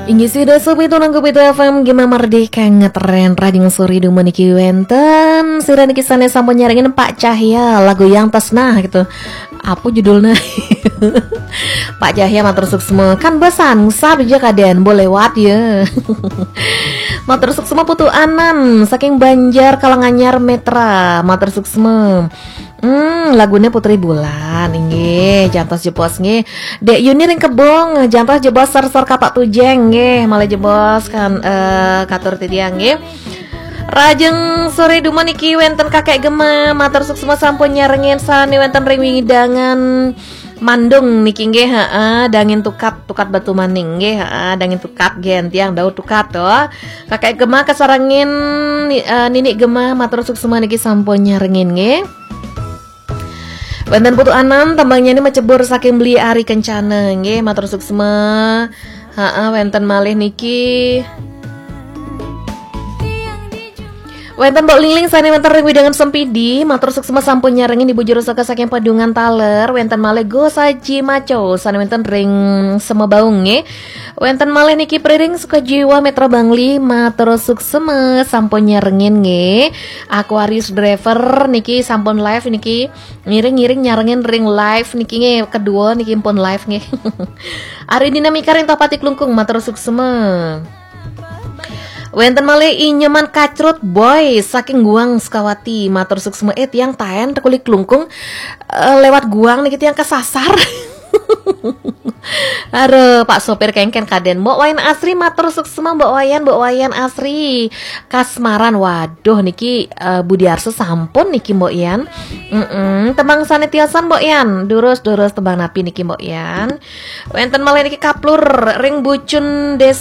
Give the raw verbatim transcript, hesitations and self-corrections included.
Inggih sida sopi tunang kopi F M Gema Merdeka ngetren rajing sore dumun niki wenten. Sira niki sane sampun nyarengin Pak Cahya lagu Yang Tresnah gitu. Apa judulnya? Pak Cahya matur suksma. Kan besan sab aja kaden boleh lewat ya. Matur suksma Putu Anan saking Banjar Kalanganyar Metra. Matur suksma. Hmm, lagune Putri Bulan inggih, jantos jebos nggih. Dek Yuni ring Kebong, jantos jebos ser-ser kapak tujeng nggih, malih jebos kan eh, katur titiang nggih. Rajeng sore dumun niki wenten Kakek Gema, matur suksma sampun nyarengin sane wenten ring wingidangan Mandung niki nggih, heeh, dangin tukat, tukat batu maning nggih, heeh, dangin tukat gen tiang dau tukat to. Kakek Gema kasarengin ni- eh, Ninik Gema matur suksma niki sampun nyarengin nggih. Wenten Putu Anan tembangnya ini macebur saking Beli Ari Kencana nggih, matur suksma. Heeh, wenten malih niki. Wenten Mbok Lingling sane wenten ring widangan Sempidi, matur suksma sampun nyarengin Ibu Juru Saka saking Padungan Taler, wenten malih Go Saji Maco sane wenten ring Semebaung nggih. Wenten malih niki Priring Sukajiwa Metra Bangli, matur suksma sampun nyarengin nggih. Aquarius Driver niki sampun live niki, ngiring-ngiring nyarengin ring live niki nggih, kedua niki pun live nggih. Ari Dinamika ring Tohpati Klungkung, matur suksma. Wenten malih I Nyoman Kacrut Boy saking Guang Sukawati, matur suksma. Eh, tiang taen tekuli Klungkung eh, lewat Guang niki tiang kesasar. Aduh, Pak sopir kengken kaden. Mbok Wayan Asri matur suksma, Mbok Wayan, Mbok Wayan Asri. Kasmaran, waduh niki eh, Budi Arso sampun niki Mbok Yan. Mm-mm. Tembang sane tiosan Mbok Yan. Durus-durus tembang napi niki Mbok Yan. Wenten malih niki Kaplur ring Bucun Des